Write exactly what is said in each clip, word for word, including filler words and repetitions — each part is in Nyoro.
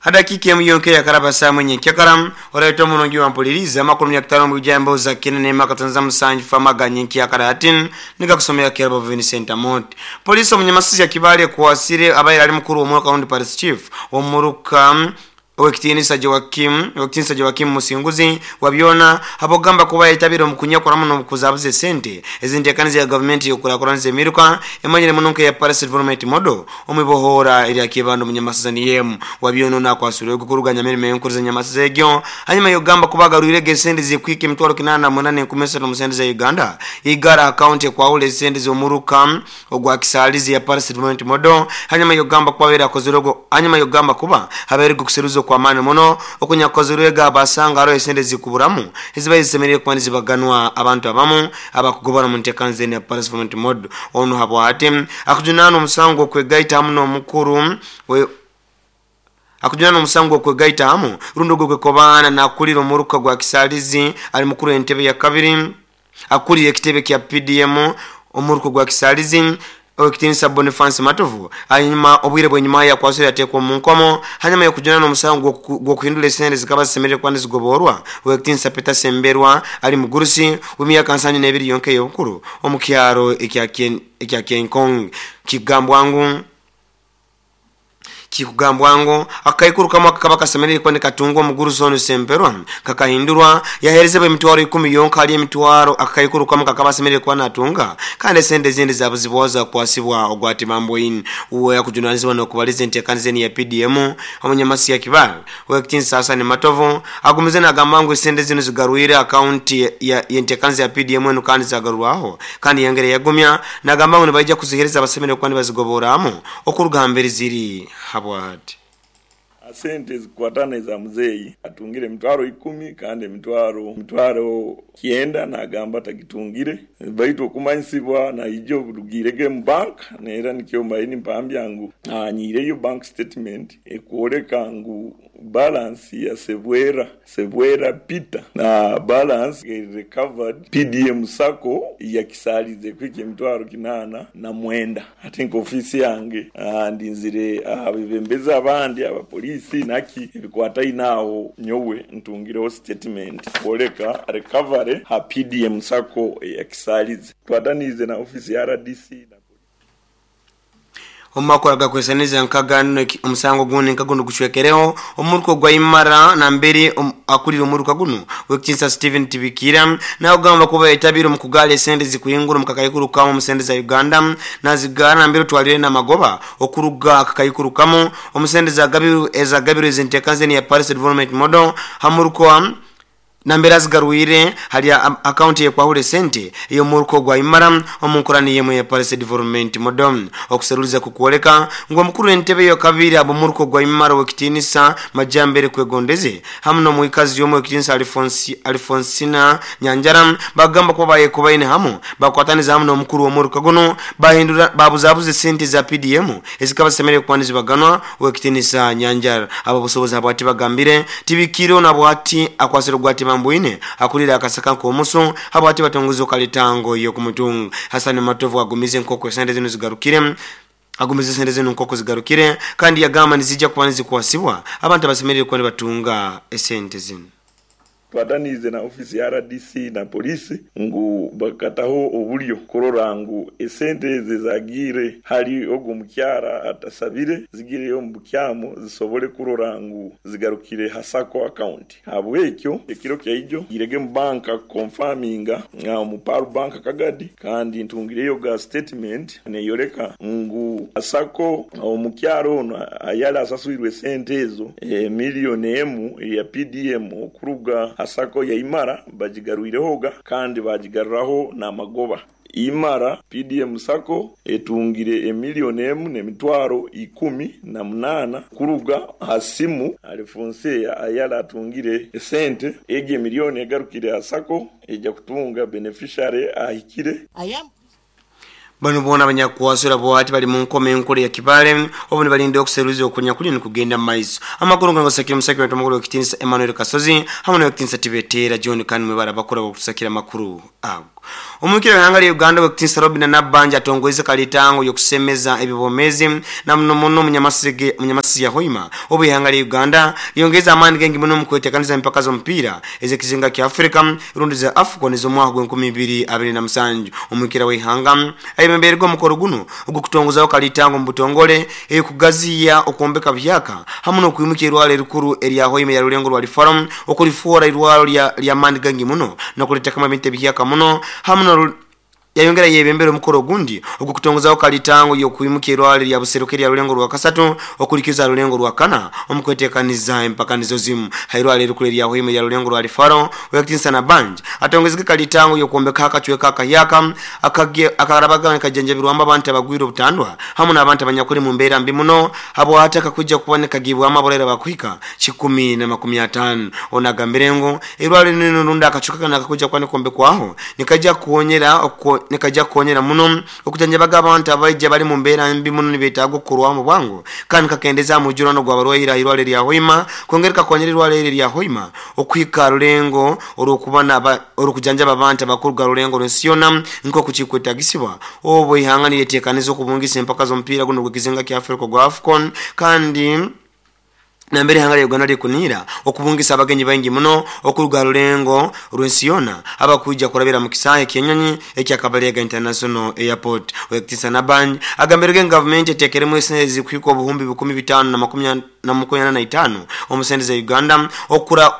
Hadakika emu yonke yakaraba saa mwenye kyakaram oraito munongi wampuliriza amakuru myakutano mu bijambo za kinene makatanza musanju famaga nyenki yakaratin nikakusomea kerbo Vincent Amot. Polisi omunyamasizi ya Kibale kuwasire abaye ali mukuru wa mwaka County Police Chief omuruka Owekitinisa Joakim Owekitinisa Joakim Musinguzi wabyona habogamba kuba yetabira omukunya kuramu n'okuzabuze sente ezintekaniza ya government yokurakuranze emiruka emanyire munonke ya Paris Development Model omibohora eri akibando munyamasazani yemu wabyona nakwasura okukuruganya mirimo enkuruza nyamasiza egyo hanyuma yogamba kubagarwire gesende zikwike emitwaro kinana munane nkumesero musende za Uganda igara account kwa sende z'omuruka ogwa kisalizi ya Paris Development Model hanyuma yogamba kubabera kozirogo hanyuma yogamba kuba habere gukuseruzo kwa mani muno okunyakozerwega abasanga aro esende zikuburamu eziba zisemereye kuba nizibaganwa abantu abamu abakugobana mu ntekanze ya Paris Development Model ono habwate akujunana omusango kwegaita hamu n'omukuru we akujunana omusango kwegaita hamu rundo gwe kobana nakulira omuruka gwa kisalizi ali mukuru entebe ya kabiri akulira ekitebe kya P D M omuruka gwa kisalizi Owekitinisa Boniface Matovu hanyuma obwire bwenyuma ya kwasira yatekwa mu nkomo hanyuma yokujunana omusango gwokuhindula esente zikaba zisemerere kuba nizigoborwa Owekitinisa Peter Semberwa ali mugurusi w'emyaka nsanju n'ebiri yonke y'obukuru omu kyaro ekya Kenkong kigambwangu kikugambwango akaikuru kama kakaba kasemerere kuba nikatungwa omugurusi ono Semberwa kakahindurwa yaherezebwa emitwaro ikumi yonka ali emitwaro akaikuru kama kakaba semerere kuba natunga kandi esente zindi zabuzibwaza kwasibwa ogwati mambo in uwe yakujunanizibwa n'okubaliza enteekaniza ya P D M omunyamasi ya Kibale Owekitinisa Hassan Matovu agumize nagamba ngu esente zino zigarwire akaunti ya enteekaniza ya P D M eno kandi zagarurwaho kandi yangere yagumya nagamba ngu nibaija kuzihereza abasemerere kuba nibazigoboramu okuruga mbere ziri habwa. Sente zikwatana za mzeyi atungire mitwaro ikumi kandi mitwaro mitwaro kienda nagamba tagitungire baitu okumanyisibwa na ijo bulugirege mu bank nera nikyo mbaini mpambya ngu anyireyo bank statement ekwoleka ngu balance ya Sebwera Sebwera Peter na balance recovered P D M Sacco ya kisalize kwike mitwaro kinana na mwenda ati nko ofisi yange ndinzire abibembeza abandi abapolisi naki ebikwata inaho nyowe ntungireho statement kwoleka recovery ha P D M Sacco ya kisalize twatanize na ofisi ya R D C. Omakora gakwesaneza nkagano omusango gundi nkaguno gushwekereho omuruko gwa imara na mbere um, akulira omuruka guno Owekitinisa Steven Tibikira nayo gamba kuba etabiro mukugale sente zikuyingura mukakayikuru kamo musende za Uganda nazigara na mbere twalire na magoba okuruga akakayikuru kamo omusende za gabiru ezagabiro ezintekanze ya Paris Development Model hamuruko nambera zigarwire hali account ye kwahule sente iyo muruko gwa imara omunkurani yemwe ya Paris Development Model okuseruliza kukuoleka ngo mukuru entebe yo kabiri abo muruko gwa imara Owekitinisa Majambere kwegondeze hamu no muikazi yomo Owekitinisa Alfonsi Alfonsina Nyanjara bagamba kuba baye kubaine hamu bakwataniza hamu no mukuru wa muruka guno bahindura babuzabuze sente za P D M ezikaba semere kwanizi baganwa Owekitinisa Nyanjara abo busobozi abwati bagambire tibikiro na bwati akwasiro gwati mambuine akulira akasaka nkomuso habwati batonguzo kalitango yo kumutunga Hassan Matovu agumize nkoko sente zino zigarukire agumize sente zino nkoko zigarukire kandi yagamba nizijja kuba nizikuwasibwa abantu abasemerere kuba batunga esente zino. Twatanize na ofisi ya R D C na polisi ngu bakataho obulyo kurora ngu esente zagire hali ogu mukyara atasabire zigireyo mu bukyamo zisobole kurora ngu zigarukire hasako account habwekyo ekiro kyaijo girege mu banka confirminga nga mu Paru bank kagadi kandi ntungireyo ga statement neyoreka ngu asako omukyaro ono ayala asasuirwe sente ezo e, milioni emu ya P D M okuruga asako ya imara bajigarwirehoga kandi bajigarraho na magoba imara P D M Sacco etungire emilioni emu n'emitwaro ikumi na munana kuruga hasimu Alphonse ayala atungire esente ege milioni egarukire asako ejja kutunga beneficiary ahikire. Bano bona abanyakuwasura bwati bali mu nkoma enkulu ya Kibale obu nibalinda okuseruza okunya kuli nikugenda mu maiso. Amakuru gano gasakira omusakira wetu omukuru w'ekitiinisa Emmanuel Kasozi hamwe n'owekitiinisa Tibetera John kandi mwe barabakura bokusakira amakuru ago. Omukira w'ihanga lya Uganda w'ekitiinisa Robin Nabbanja atongoize kalitango y'okusemeza ebibomezi na muno muno munyamasige munyamasisi ya Hoima obu ihanga lya Uganda lyongeza amaani gengi muno mu kwetekaniza empaka z'omupiira ez'ekizinga kya Afrika rundi za AFCON ez'omwaka gw'enkumi ibiri abiri na musanju. Omukira w'ihanga ayebembererwa omukoro guno ogw'okutongozaho kalitango mu butongole ekugaziya okwombeka byaka hamwe n'okwimuka irwaro erikuru erya Hoima ya Rulengo rwa Lifaram okulifuura irwaro lya lya maani gangi muno n'okulitekamo ebintu ebihyaka muno hamwe no yayongera yebembera omukoro gundi ogw'okutongozaho kalitango y'okwimuka irwaro lya Buseruka erya Rulengo rwa kasatu okulikiza Rulengo rwa kana omukwetekaniza empaka nizo zimu. Hairwaro erikuru erya Hoima ya Rulengo rwa Lifaro w'ekitiinisa Nabbanja atongezeke kalitango y'okwombeka akacweka akayaka akarabaga kajanjabirwamu abantu abagwire obutandwa hamwe n'abantu abanyakuli mu mbeera mbi muno habwataka kujja kuboneka gibwamu abolera bakuhika kikumi na makumi ataano. Onagambire ngu irwaro lino rundi akacuka kana kakujja kuba nikombekwaho nikajja kuwonyera nikajja kuwonyera muno okujanjabaga abantu abaija bali mu mbeera mbi muno nibetaaga okukorwamu bwangu kandi kakendeza omujurano gw'abarwaire irwaro lya Hoima kwongera kakonyera irwaro eri lya Hoima okuhika Rulengo olw'okuba olw'okujanjaba abantu abakuruga Rulengo lw'ensi yonna nk'oku kikwetagisibwa obu ihanga niryetekaniza okubungisa empaka z'omupiira guno gw'ekizinga kya Afrika gwa AFCON kandi nambere ihanga lya Uganda likunira okubungisa abagenyi baingi muno okuruga Rulengo rw'ensi yonna abakuija kurabira mu kisaahe ky'enyonyi ekya Kabalega International Airport. W'ekitiinisa Nabbanja agambirege gavumenti eteekeremu esente zikuhika obuhumbi bikumi bitaano na makumi na makumi na itaano omu sente za Uganda okura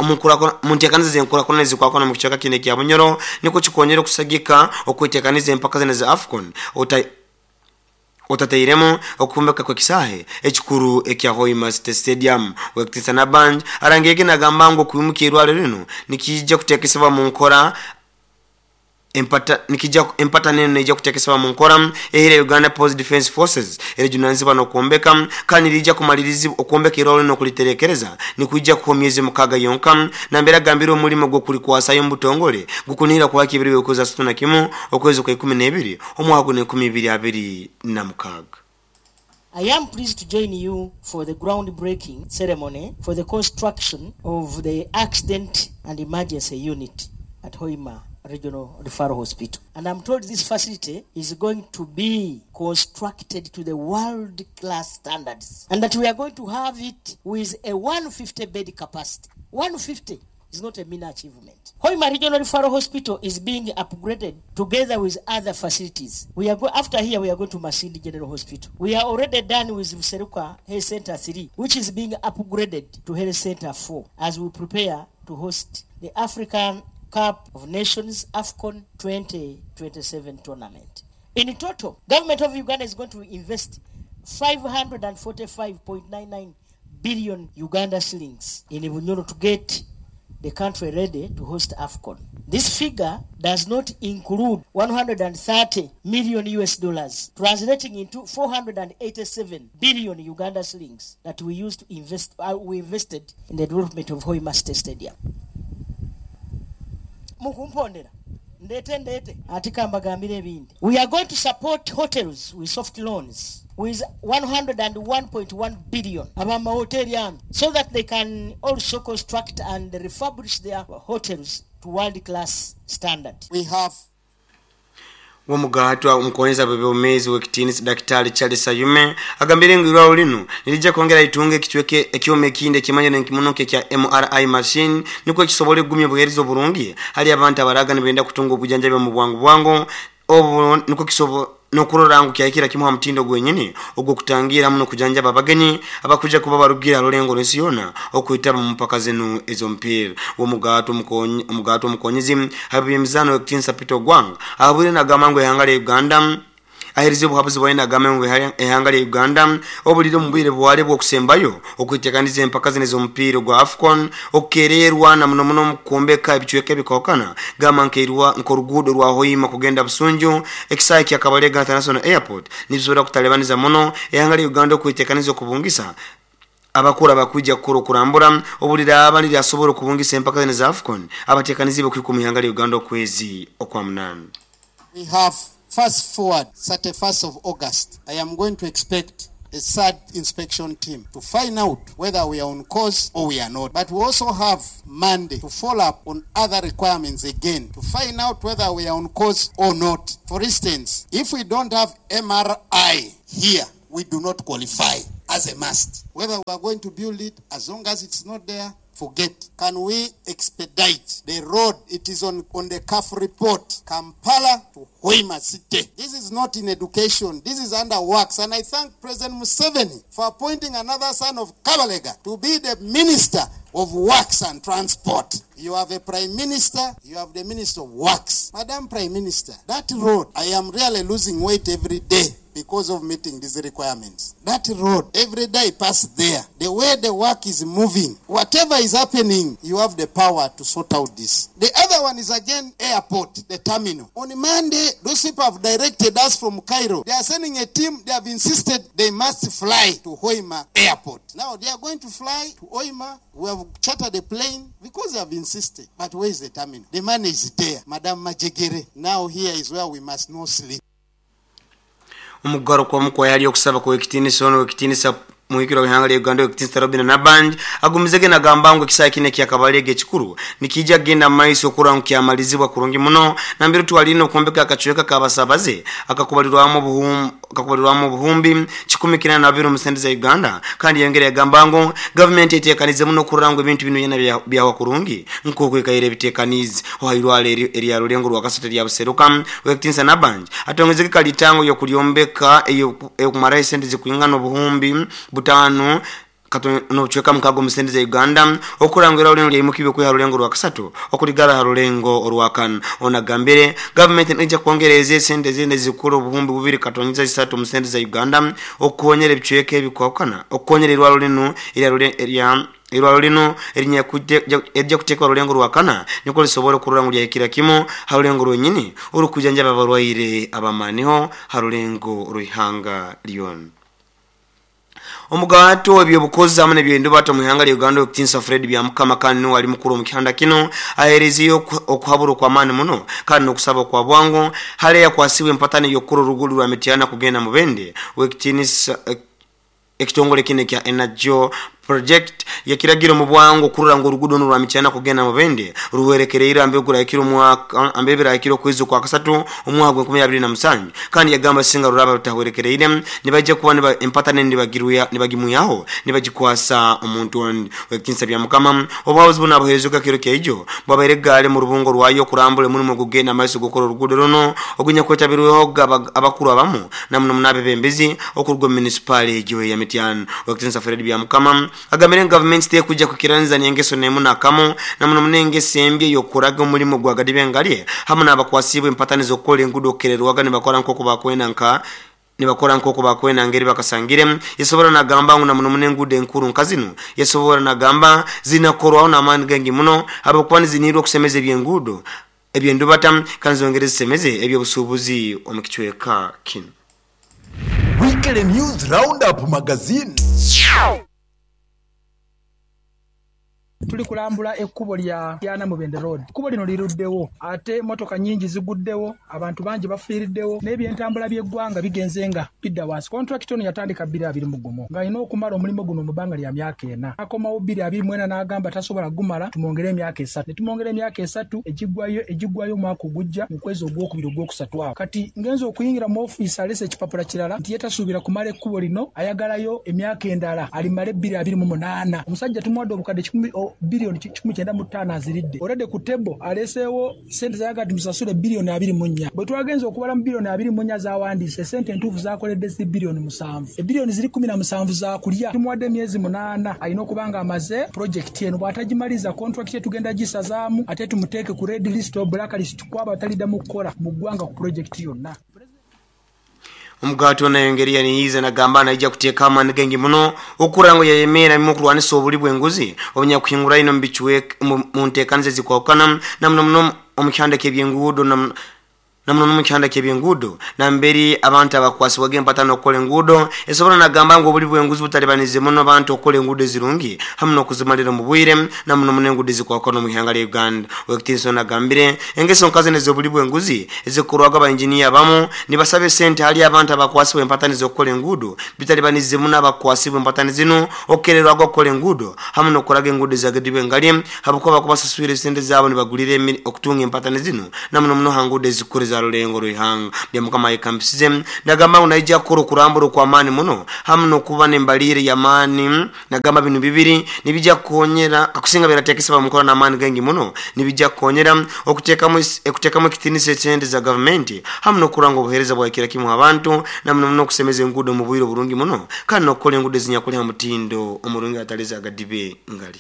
mu nteekaniza z'enkurakurana ezikwakwana mu kicweka kino ekya Bunyoro nikwo kikonyera okusagika okwetekaniza empaka zino za AFCON ota otatairemu okumbeka kw'ekisaahe ekikuru ekya Hoima City Stadium. W'ekitiinisa Nabbanja arangege nagamba ngu okwimuka irwaro lino nikijja kuteekesebwa mu nkora empata nikijja empata nene neija kutekesebwa mu nkora ehire Uganda Post Defense Forces erejunanizibwa n'okwombeka kandi lija kumaliriza okwombeka irwaro lino okuliterekereza nikujja kuha myezi mukaaga yonka nambere agambire omulimo gw'okulikwasayo mu butongole gukunihira kuba kibiri okwezi asatu na kimu okwezi kwa ikumi n'ebiri omwaka guno enkumi ibiri abiri na mukaaga. I am pleased to join you for the groundbreaking ceremony for the construction of the Accident and Emergency Unit at Hoima Regional Referral Hospital. And I'm told this facility is going to be constructed to the world-class standards and that we are going to have it with a one hundred fifty bed capacity. one hundred fifty is not a mean achievement. Hoima Regional Referral Hospital is being upgraded together with other facilities. We are go after here we are going to Masindi General Hospital. We are already done with Buseruka Health Center three, which is being upgraded to Health Center four as we prepare to host the African Cup of Nations AFCON twenty twenty-seven tournament. In total, government of Uganda is going to invest five hundred forty-five point nine nine billion Uganda shillings in Bunyoro to get the country ready to host AFCON. This figure does not include one hundred thirty million U S dollars, translating into four hundred eighty-seven billion Uganda shillings that we used to invest, uh, we invested in the development of Hoima City Stadium. Mukumpondera ndete ndete atika mbagambire ebindi. We are going to support hotels with soft loans with one hundred one point one billion abama hoteli ano so that they can also construct and refurbish their hotels to world class standard. We have Womugatwa omukonyeza bw'obwomeezi w'ekitiinisa Daktari Charles Sayume agambire ngu irwaro lino nirijja kwongera itunge ekicweke ekyoma ekindi ekimanyire nkimunoke kya M R I machine nikwo kisobole kugumya obuheereza oburungi hali abantu abaraga nibenda kutunga obujanjabi mu bwangu bwangu obu nikwo kisobo nokurora ngu kyahikira kimuha mutindo gwenyini ogw'okutangira muno kujanjaba abagenyi abakuja kuba barugira Rulengo lw'ensi yonna okwitaba mu mpaka zino ez'omupiira. Womugato omugato omukonyezi habimizano w'ekitiinisa Peter Ogwang ahabwire nagamba ngu ihanga lya Uganda aherize obuhabuzi bwaine agamba ngu ihanga lya Uganda obulire omu bwire bwale bw'okusembayo okwitekaniza empaka zino ez'omupiira gwa AFCON okukererwa na muno muno mu kwombeka ebicweka ebikokana gamba nkeirwa nk'oruguudo rwa Hoima kugenda Busunju ekisaahe kya Kabalega International Airport nibisobora kutalebaniza muno ihanga lya Uganda okwitekaniza okubungisa abakura bakuja kukora okurambura obulire abali lyasobola okubungisa empaka zino za AFCON abatekanizi bokwika mu ihanga lya Uganda okwezi okwa munana. We have Fast forward, thirty-first of August, I am going to expect a third inspection team to find out whether we are on course or we are not. But we also have Monday to follow up on other requirements again to find out whether we are on course or not. For instance, if we don't have M R I here, we do not qualify as a must. Whether we are going to build it, as long as it's not there, forget. Can we expedite the road? It is on, on the C A F report, Kampala to Hoima City. This is not in education. This is under works. And I thank President Museveni for appointing another son of Kabalega to be the Minister of Works and Transport. You have a Prime Minister, you have the Minister of Works. Madam Prime Minister, that road, I am really losing weight every day because of meeting these requirements. That road, every day I pass there. The way the work is moving, whatever is happening, you have the power to sort out this. The other one is again airport, the terminal. On Monday, those people have directed us from Cairo. They are sending a team. They have insisted they must fly to Hoima Airport. Now they are going to fly to Hoima. We have chartered a plane because they have insisted. But where is the terminal? The money is there. Madam Majegere, now here is where we must not sleep. Omugaro kwa mukwa yali okusaba kwa ekitinisa ono ekitinisa muhikiro w'ihanga lya Uganda ekitinisa Robin Nabanja agumizege nagamba ngu ekisaawe kino ekyakabalege ekikuru nikijja kugenda mu maiso okurora ngu kyamalizibwa kurungi muno nambere twalina okwombeka akacweka k'abasabaze akakubalirwamu obuhum-, akakubalirwamu obuhumbi kikumi kina na bibiri mu sente za Uganda. Kandi yongera yagamba ngu gavumenti eteekanize muno okurora ngu ebintu bino byona bya-, byawa kurungi nk'okwekaire ebiteekanize ohairwara eri-, erya Rulengo rwa Kasatu erya Buseruka. Ekitinisa Nabanja atongezege kalitango y'okulyombeka eyokumaraho esente zikwingana obuhumbi butano nobucweka mukago mu sente za Uganda okurangira orulengo lyaimukiibwe kwiha rulengo rwa kasatu okuligara ha rulengo orwakana. Onagambire gavumenti neija kwongereza esente ezindi zikuru obuhumbi bubiri katonyiza isatu mu sente za Uganda okukonyera ebicweka ebikwakana okukonyera erwaro linu erya irwaro lino erijja kuteekwa rulengo rwakana niko lisobora okurora ngu lyahikira kimu ha rulengo rwenyini orukujanjaba abarwaire abamaniho ha rulengo rw'ihanga lyona. Omugato ebyobukozi hamwe n'ebyendubato mu ihanga lya Uganda okutinsa Fred Byamukama kandi niwe ali mukuru omu kihanda kino ahereziyo okuhabura okw'amaani muno kandi n'okusaba kwa bwangu hale yakwasibwe empatani y'okukora orugulu rwa Mityana kugenda Mubende w'ekitinisa ekitongole kino ekya Energy Project yakiragira mu bwangu okurora ngu oruguudo rwa Mityana kugenda Mubende ruwerekereire ambegura omwaka ambebera okwezi kwa kasatu omwaka gwa enkumi abiri na musanju. Kandi yagamba singa ruraba rutawerekereire nibajja kuba niba empatane nibagiruya nibagimuyaho nibagikwasa omuntu ondi. Wekinsa bya Mukama obuhabuzi buno abuherezuka kiro keijo bwabaire gale mu rubungo rwayo kurambula omulimu gugenda amaiso gukora oruguudo runo ogunya kwetabirweho abakuru abamu namuno munabebembezi okuruga mu munisipaali egyo ya Mityana. Wekinsa Fred Byamukama agambire gavumenti tekujja kukiranza n'engeso nemu nakamo namuno munengeso embi ey'okuraga omulimu gwa gadibengalye hamwe n'abakwasibwa empatani z'okukola enguudo okukererwaga nibakora nk'oku bakwenda nka nibakora nk'oku bakwenda ngeri bakasangire. Yasobora nagamba ngu namuno munenguudo enkuru nka zino yasobora nagamba zinakorwaho n'amaani gengi muno ahabwokuba nizinihirwa okusemeza ebyenguudo ebyendubata kandi zongere zisemeze ebyobusuubuzi omu kicweka kino. Weekly News Roundup Magazine. Tuli kulambula ekkubo lya Yana Mubende Road. Ekkubo lino liruddewo ate motoka nnyingi ziguddewo, abantu bangi bafiiriddewo n'ebyentambula by'eggwanga bigenze nga bidda wansi. Contract ono yatandika bbiri abiri mu gumu ng'alina okumala omulimu guno mu bbanga lya myaka ena. Akomawo bbiri abiri mu ena n'agamba tasobola gumala, tumwongere emyaka esatu. Ne tumwongera emyaka esatu egiggwayo egiggwayo omwaka ogujja mu kwezi ogwokubiri ogwokusatu awo. Kati ngenze okuyingira mu ofiisi aleese ekipapula kirala nti ye tasuubira kumala ekkubo lino, ayagalayo emyaka endala alimale bbiri abiri mu munaana. Omusajja tumuwadde obukadde kikumi biliyoni kikumi kyenda mu ttaano aziridde. Already ku table aleeseewo ssente z'ayagala tumusasule biliyoni abiri mu nnya. Bwe twagenze okubala mu biliyoni abiri mu nnya z'awandiise, ssente entuufu z'akoledde ziri biliyoni musanvu. Ebiliyoni ziri kkumi na musanvu za kulya. Tumuwadde emyezi munaana alina okuba nga amaze pulojekiti eno. Bw'atagimaliza contract ye tugenda gisazaamu ate tumuteeke ku red list or black list kw'aba ataliddamu kukola mu ggwanga ku pulojekiti yonna. Omugato nayongera yaniyiza nagamba naija kuteeka amaani gengi muno okurora ngu yayemera mu kurwanisa obuli bw'enguzi obunyakuhingura ino mu bichwe mu nteekaniza ezikwawukana namuno muno omu kihanda ky'ebyenguudo Namuno mu kyanda ky'ebyenguudo namberi abantu abakwasibwaga empatano okukola enguudo esobola nagamba ngu obuli bw'enguzi butalibanize muno abantu okukola enguudo ezirungi hamu n'okuzimalira mu bwire namuno muno enguudo ezikwakwa mu ihanga lya Uganda. Owekitinisa nagambire engeso nkazi nez'obuli bw'enguzi ezikorwaga abainjiniya abamu nibasaba esente hali abantu abakwasibwa empatano z'okukola enguudo bitalibanize muno abakwasibwa empatano zino okukererwaga okukola enguudo hamu n'okukolaga enguudo ezagedibwa engali habwokuba bakubasaswire esente zaabo nibagulira okutunga empatano zino namuno muno ha nguudo ezikuru za rulengo ruhanga. Byamukama yekambisize nagamba ngu naija kukora okurambura okw'amaani muno hamu n'okuba n'embalire y'amaani. Nagamba bino bibiri nibijja kukonyera akusinga birateekesebwa mu nkola n'amaani gangi muno nibijja kukonyera okuteekamu okuteekamu ekitiinisa esente za gavumenti hamu n'okuranga obuheereza bwakira kimu abantu namuno muno okusemeza enguudo mu bwire oburungi muno kandi n'okukola enguudo ezinyakuli ha mutindo omurungi atali zagadibe ngali.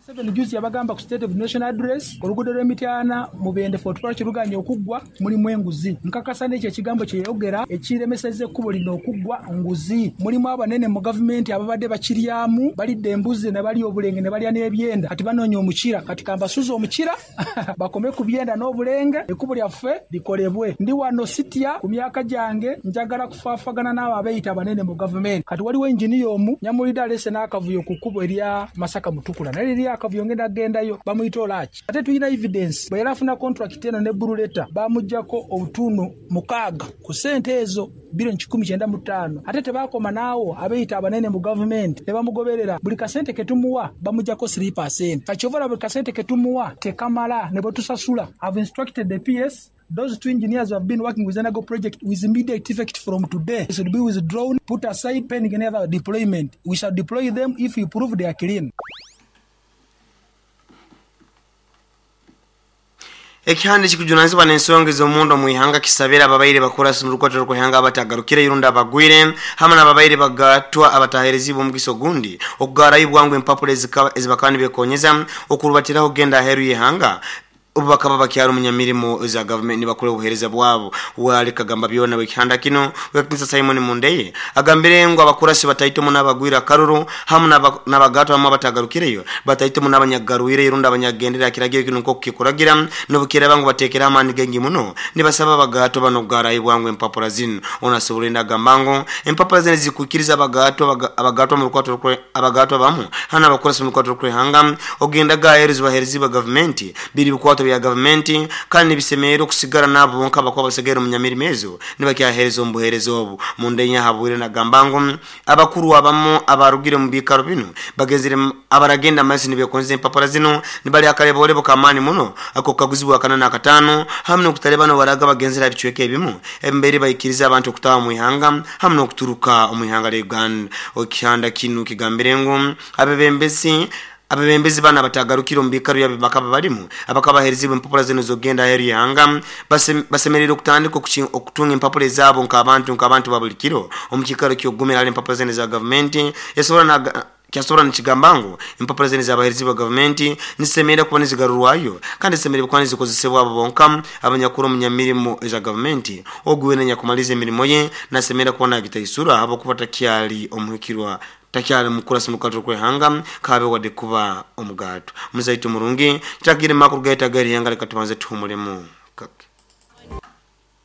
Seven juzi yabagamba ku State of National Address oluguudo lw'Emityana Mubende Fort Portal kiruganye okuggwa mulimu enguzi. Nkakasa n'ekyo ekigambo kye yayogera ekiremesezza ekkubo lino okuggwa nguzi. Mulimu abanene mu gavumenti ababadde bakiryamu balidde embuzi ne balya obulenge ne balya n'ebyenda kati banoonya omukira kati kambasuze omukira bakome ku byenda n'obulenge ekkubo lyaffe likolebwe. Ndi wano sitya ku myaka gyange njagala kufaafagana n'abo abeeyita abanene mu gavumenti. Kati waliwo engineer omu nyamulidde aleese n'akavuyo ku kkubo erya Masaka Mutukula naye liri akavuyo ngenda gendayo bamuyita Olaaki. Ate tulina evidence bwe yali afuna contract eno ne blue letter bamuggyako obutundu mukaaga ku ssente ezo biliyoni kikumi kyenda mu ttaano. Ate tebaakoma n'awo abeeyita abanene mu gavumenti ne bamugoberera buli kasente ke tumuwa bamuggyako three percent. Kati ky'ova olaba buli kasente ke tumuwa tekamala ne bwe tusasula. I've instructed the P S those two engineers who have been working with Enago project with immediate effect from today should be withdrawn, put aside pending another deployment. We shall deploy them if we prove they are clean. Ekihande kikujunanizibwa n'ensonga ez'omundo mu ihanga kisabira ababaire bakora mu rukwatiro rw'ihanga abatagarukire irunda abagwire hamwe n'ababaire bagatwa abataherezibwa omugisa ogundi okugarayo bwangu empapula ezibakaba nibekonyeza okurubatiraho kugenda aheeru y'ihanga obu bakaba bakyari omunyamirimo za gavumenti nibakora obuheereza bwabo. Wali kagamba byona wekihanda kino wekitinisa Simon Mundeye agambire ngu abakurasi bataitemu n'abagwira akaruru hamwe n'abagatwa hamwe abatagarukireyo bataitemu n'abanyagarwire irunda abanyagendera kiragiro kino nk'oku kikuragira n'obukiraba ngu bateekera amaani gengi muno nibasaba abagatwa bano kugarayo bwangu empapula zino. Onasobola agamba ngu empapula zino zikuikiriza abagatwa abagatwa mu rukwato abagatwa bamu hana abakurasi mu rukwato rw'ihanga ogenda gaheereza baheerezi ba gavumenti biri bikwato bya gavumenti kandi nibisemerera okusigara nabo bonka bakuba basigaire omu nyamirimo ezo nibakyaheereza omu buheereza obu. Mundenya habwire nagamba ngu abakuru abamu abarugire omu biikaro bino bagezire abaragenda amaiso nibekonza empapula zino nibali akareborebo k'amaani muno ako kaguzibwa akana n'akataano hamwe n'okutalebana baraga bagenzera bicweka ebimu embere baikiriza abantu okutaha mu ihanga hamwe n'okuturuka omu ihanga lya Uganda. Ekihanda kino kigambire ngu abebembezi abebembezi bana batagarukira omu biikaro byabo bakaba balimu abakabaherezibwa empapula zino z'okugenda aheeru y'ihanga basemerere okutandika okutunga empapula ezaabo nk'abantu nk'abantu ba buli kiro omu kiikaro ky'okugumira hali empapula zino za gavumenti yasobola kyasobola nikigamba ngu empapula zino zabaherezibwa gavumenti nizisemerera kuba nizigarurwayo kandi zisemerere kuba nizikozesebwa abo bonka abanyakuru omu nyamirimo eza gavumenti ogu weena nyakumaliza emirimo ye nasemerera kuba nagitaisura habwokuba takyali omuhikirwa takyali mukurasi mu rw'ihanga kabe wadde kuba omugato. Muzaitu murungi kitakire makuru gaita gari ihanga reka tubanze tuhumulemu kake.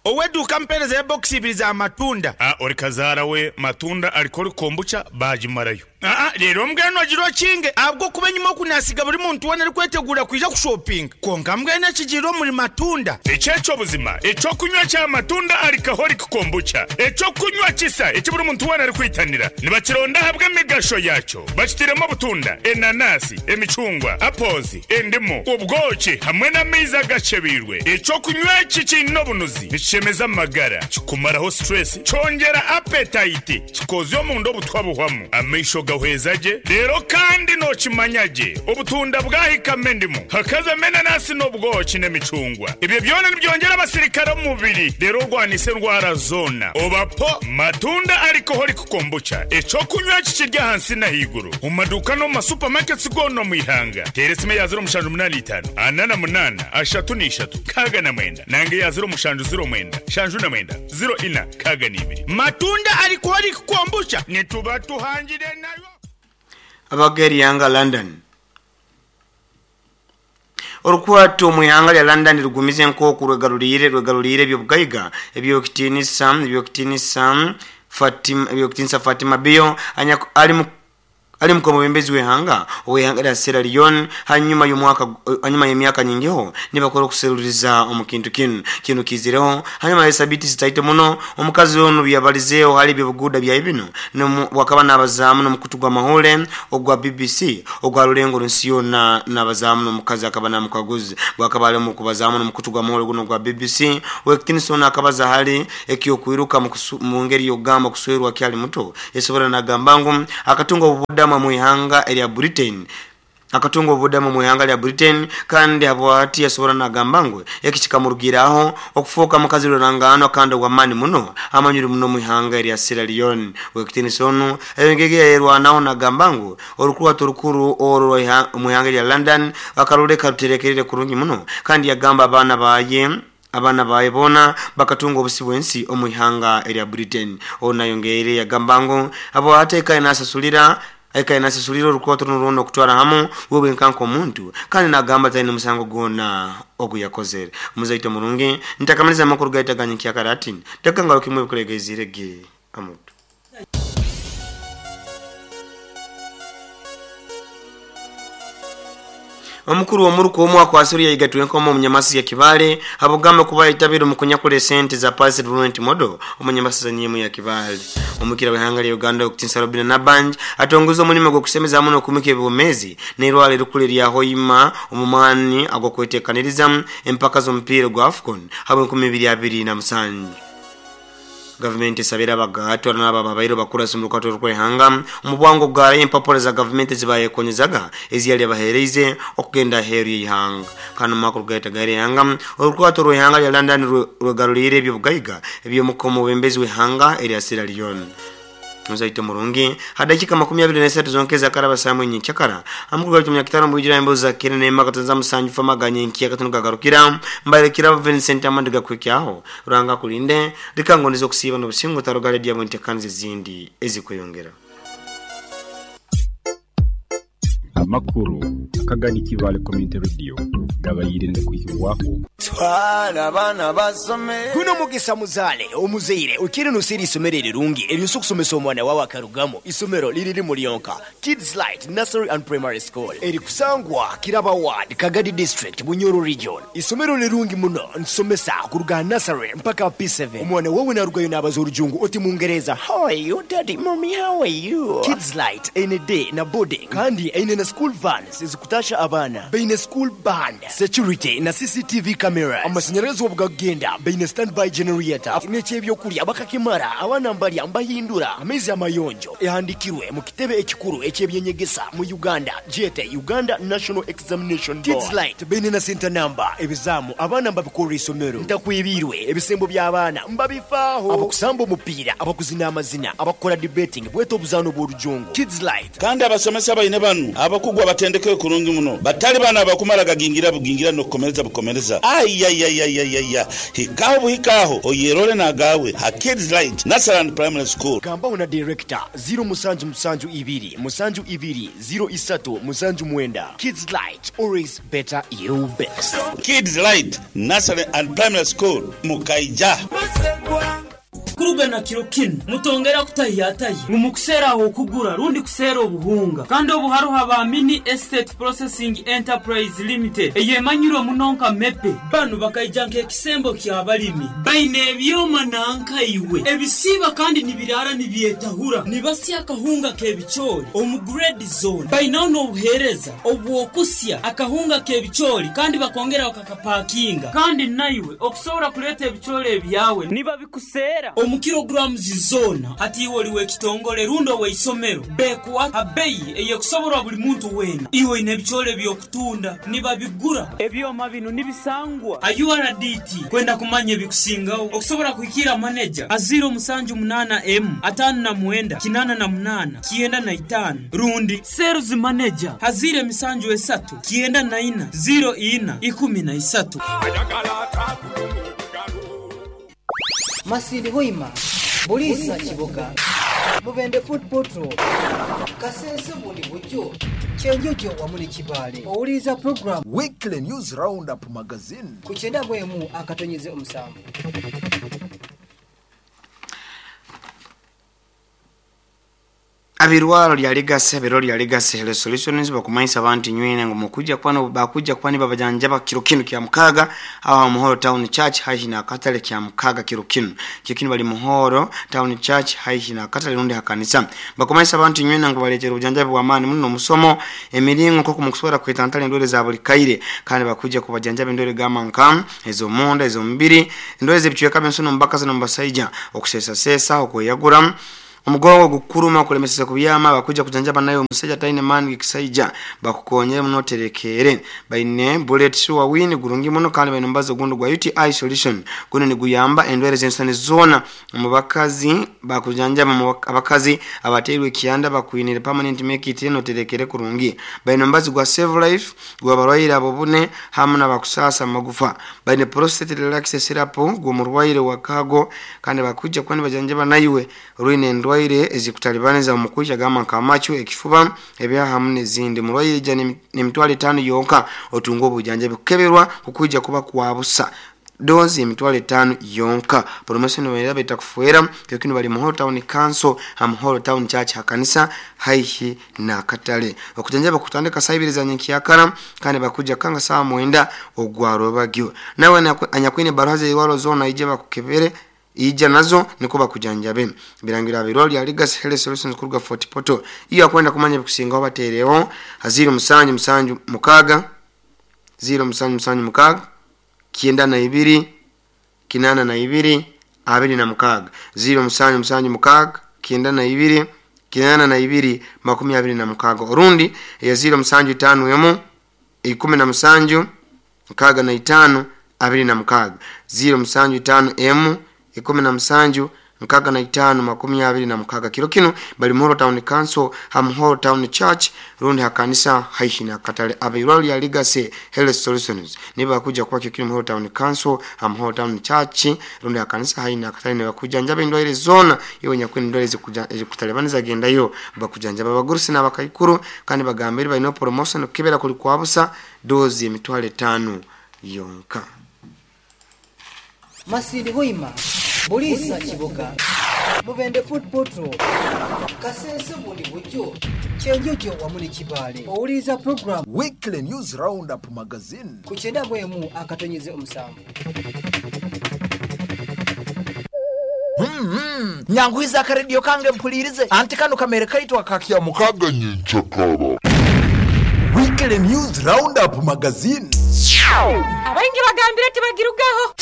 Oweduka mpereza ya box ibiri za matunda. Ah, ori kazara we matunda alikori kombucha bajimarayo. Ah, rero mbweno agiro kinge abwo kuba nyuma kunasiga buri muntu wena ari kwetegura kuja kushopping. Konka mbwene kigiro muri matunda. Echecho buzima, echo kunywa cha matunda alcoholic kombucha. Echo kunywa kisa eki buri muntu wena ari kwitanira. Nibakironda habwe migasho yacho. Bakitiremo butunda, enanasi, emicungwa, apples, endimu, ubwoki hamwe n'amaizi agacebirwe. Echo kunywa iki kino bunuzi. Nikishemeza amagara, kikumaraho stress, cyongera appetite, kikozyo mu ndo butwabuhwamu. Amaisho gahwezaje rero kandi nokimanyage obutunda bwahikame ndimu hakaza menanasi n'obwoki n'emicungwa ibyo byona nibyongera abasirikare mu mubiri rero rwanise ndwara zona obapo matunda alcoholic kombucha eco kunywa kikirya hansi na higuru mu maduka no mu supermarkets gono mu ihanga teresime ya zero mushanju munani itanu anana munana ashatu n'ishatu kaga na mwenda nange ya zero mushanju zero mwenda shanju na mwenda zero ina kaga n'ibiri matunda alcoholic kombucha nituba tuhangire nayo. Abageri yanga London Orukwato mu ihanga lya London rugumize nkoku rwegarulire rwegarulire ebyobugaiga ebyokitinisa ebyokitinisa Fatima ebyokitinisa Fatima Bio ali mu ali mkomobembezi wehanga owehanga la Sierra Leone hanyuma y'omwaka hanyuma y'emyaka nyingiho nibakora okuseruriza omukintu kinu kinu kizireho hanyuma ya sabiti zitaite muno omukazi ono byabalizeho hali byebuguda bya ibino wakaba nabazamu n'omukutu gwa mahole ogwa B B C ogwa Rulengo nsiyo na nabazamu n'omukazi akaba namukaguzi bwakaba ali mu kubazamu n'omukutu gwa mahole guno gwa B B C Wekitinson akabaza hali ekyo kwiruka mu ngeri yogamba kuswerwa kyali muto yesobora nagamba ngu akatunga obubuda muihanga erya Britain akatunga obudamu muihanga lya Britain kandi habwati yasobora nagamba ngu ekikikamurugiraho okufuuka mukazi rurangano kandi wamani muno amanyuri muno muihanga erya Sierra Leone. Wekitinson engege yerwanaho nagamba ngu orukuwa torukuru oro muihanga lya London akaruleka ruterekerere kurungi muno kandi yagamba abana baye abana baye bona bakatunga obusibwensi omuihanga erya Britain. Ona yongeire yagamba ngu abo ateka inasasulira eka inasasulira orukoto nuruno kutwara hamu wewe nkanko omuntu kandi nagamba tayina musango gona oguyakozere muzaito murungi ntakamaliza makuru gaitaganya kyakarati takangalo kimwe kulegezirege amutu. Omukuru omuruko omwaka wa Syria yigatwe nkomo omunyamasi ya Kibale abugamba kuba itabiro mukunyakule sente za Pass Development Model omunyamasi za nyemu ya Kibale. Omukira w'ihanga lya Uganda okutinsa Robina Nabanj atongoza omulimo gw'okusemeza muno okumika ebibomezi n'erwala erukule lya Hoima omumani agw'okweteekaniriza empaka z'omupiira gwa AFCON habwe enkumi ibiri abiri na musanju. Government sabira bagatwa n'aba babairo bakura sumurukato rwehanga umubwango bwa empapura za government zibayekonyezaga eziyali abahereize okugenda heru y'ihanga kano makuru gaita gari yanga orukwato rwehanga lya London rwegarulire ebyobugaiga ebyomukomo bembezi wehanga erya Sierra Leone. Muzaito murungi hadakika makumi abiri na esatu zonkeza karaba saa mwenye chakara amukuru gatumya kitano mbujira emboza kirene makatanza musanju famaganye nkiya katunuka garukira mbale kirabo Vincent Amandiga kwekyaho ruranga kulinde rikangonizo kusiba n'obusingo tarogale dia mwentekanze zindi ezikweyongera. Amakuru akagani Kibale Community Radio gabayirinde kuyiwaho twala bana basome kuno mugisa muzale omuzeire ukiri nusiri isomero rirungi eryo kusomesa omwana wawe akarugamo isomero liriri mulionka Kids Light Nursery and Primary School eri kusangwa Kiraba Ward Kagadi District Bunyoro Region. Isomero lirungi muno nsomesa kuruga nursery mpaka P seven. Omwana wawe narugayo nabaza orujungu oti mungereza how are you daddy mommy how are you. Kids Light any day na boarding kandi eine na school vans ezikutasha abana beine school band security na C C T V cameras amashanyarazi obugagenda beine standby generator n'ekyebyokulya bakakimara abana mbalya mbahindura amezi amayonjo ehandikirwe mu kitebe ekikuru ekyebyenyegesa mu Uganda jete Uganda National Examination Board. Kids Light beine na center number ebizamu abana mbabikora isomero ntakwibirwe ebisembo by'abaana mbabifaaho abakusamba omupiira abakuzina amazina abakora debating bweto obuzano bw'orujungu Kids Light kandi abasomesa baine banu abakugwa batendeke kurungi muno batali bana abakumara gagingira bugingira no kukomereza bukomereza ayayayayaya hikaho buhikaho oyerole nagawe ha Kids Light Nursery and Primary School. Gamba una director zero musanju musanju ibiri musanju ibiri zero isatu musanju mwenda. Kids Light always better you best. Kids Light Nursery and Primary School mukaija kuruga na kiro kino mutongera kutahiyataye mumukusera aho kugura rundi kusera obuhunga kandi obuharuha ba Mini Estate Processing Enterprise Limited eyemanyiro munonka mepe banu bakaijanka ekisembo kya balimi baine ebyoma nanka iwe ebisiba kandi nibirara nibyetahura nibasya akahunga kebichori omu grade zone bainaho n'obuhereza obwokusya akahunga kebichori kandi bakongera bakakapakinga kandi naiwe okusobora kuleta ebichori ebyawe niba bikusera omu kilograms zona hati iwe oliwe ekitongole rundo weisomero bekuwa abeyi eyekusoborwa buli muntu wena iwe ine ebichore byokutunda nibabigura ebyoma bino nibisangwa a U R D T kwenda kumanya ebikusingaho okusobora kuhikira manager aziro musanju munana m atano na mwenda kinana na munana kienda na itano rundi sales manager hazire misanju esatu kienda na ina zero ina ikumi na isatu. Masiri Hoima, Bulisa Kiboga. Mubende Foot Portal, Kasese bundi bujjo, Kyenjojo wamu ne Kibaale. Owuliriza program Weekly News Roundup Magazine ku kyenda mu emu akatonyeze omusanvu. Abirwaro lya Legacy abiro lya Legacy Health Solutions bakumanyisa abantu nywene ngo mukujja kwano bakujja kwani babajanja bakiro kinu kya mukaga awa Muhoro Town Church haihi na katale kya mukaga kiro kinu kikinu bali Muhoro Town Church haihi na katale rundi hakanisa bakumanyisa abantu nywene ngo baletera ubujanja bwa amani muno musomo emiringo ko kumukusora kwitantale ndore za buli kaire kandi bakujja kubajanja bendore gama nkam ezo monda ezo mbiri ndore zibicweka bensono mbaka zino mbasaija okusesa sesa okweyagura omugongo gukuruma kulemesesa kubyama bakuja kujanjaba nayo omusajja taine mani kisaija bakukonyere muno terekere baine bullet sure win gurungi muno kandi baine mbazo gundo gwa U T I solution guno ni guyamba endwere zensani zona mubakazi bakujanjaba abakazi abaterwe kianda bakuinire permanent make it no terekere kurungi baine mbazo gwa save life gwa barwaire abo bune hamwe nabakusasa magufa baine prostate relax syrup gwo murwaire wakago kandi bakuja kwani bajanjaba nayiwe ruine ndwa ile ezikutalibaniza omukuja gama kamachu ekifuba ebya hamne zindi murwaire jani ni mitwalo tano yonka otungo obujanja bikukeberwa kukuja kuba kwabusa dozi emitwalo tano yonka promotion bayira betakufuera kyokino bali Muhoro Town Council ha Muhoro Town Church hakanisa haihi na katale okujanja bakutandika saibiriza nyankiyakara kandi bakuja kanga saa mwenda ogwaro bagyo nawe anyakwine baraza iwalo zona ije bakukebere ija nazo niko bakujanjabe birangira biroli ya Legacy Health Solutions kuruga Fort Portal iyo akwenda kumanya bikusinga batereho haziro musanju musanju mukaga zero musanju musanju mukaga kienda na ibiri kinana na ibiri abiri na mukaga zero musanju musanju mukaga kienda na ibiri kinana na ibiri makumi abiri na mukaga orundi ya zero musanju tano emu ikumi na musanju mukaga na itano abiri na mukaga zero musanju tano emu ikumi na musanju nkaga na itano makumi abiri na mukaga kiro kino bali Muhoro Town Council ha Muhoro Town Church rundi hakanisa haihi na katale abirwali ya Legacy Health Solutions niba kuja kwa kikino Muhoro Town Council ha Muhoro Town Church rundi hakanisa haihi na katale niba njabe ndwaire zona iwe nyakwini ndwaire zikuja kutalebaniza genda yo bakujanja babagurusi n'abakaikuru kandi bagambira balino promotion kibera kuli kwabusa dozi emitwalo tano yonka. Masindi Hoima, Bulisa Kibuga, Mubende Foot Portal, Kasese bundi bujjo, Kyenjojo wamu ne Kibaale. Owuliriza program Weekly News Roundup Magazine ku kyenda mu emu akatonyeze omusanvu. Mm-hmm. Nyanguiza akaredio kange mpulirize anti kano kamere kaitwa kakya mukaga nyenchakara. Weekly News Roundup Magazine. Abaingi bagambire tibagirugaho.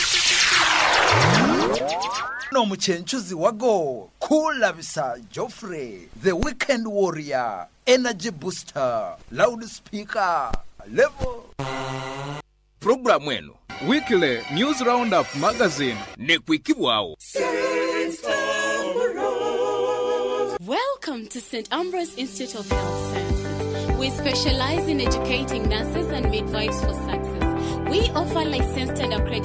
No muchenchuzi wago Kulabisa Joffrey, the weekend warrior, energy booster, loudspeaker, level. Programu eno Weekly News Roundup Magazine ne kwikibwawo. Welcome to Saint Ambrose Institute of Health Sciences. We specialize in educating nurses and midwives for success. We offer licensed and accredited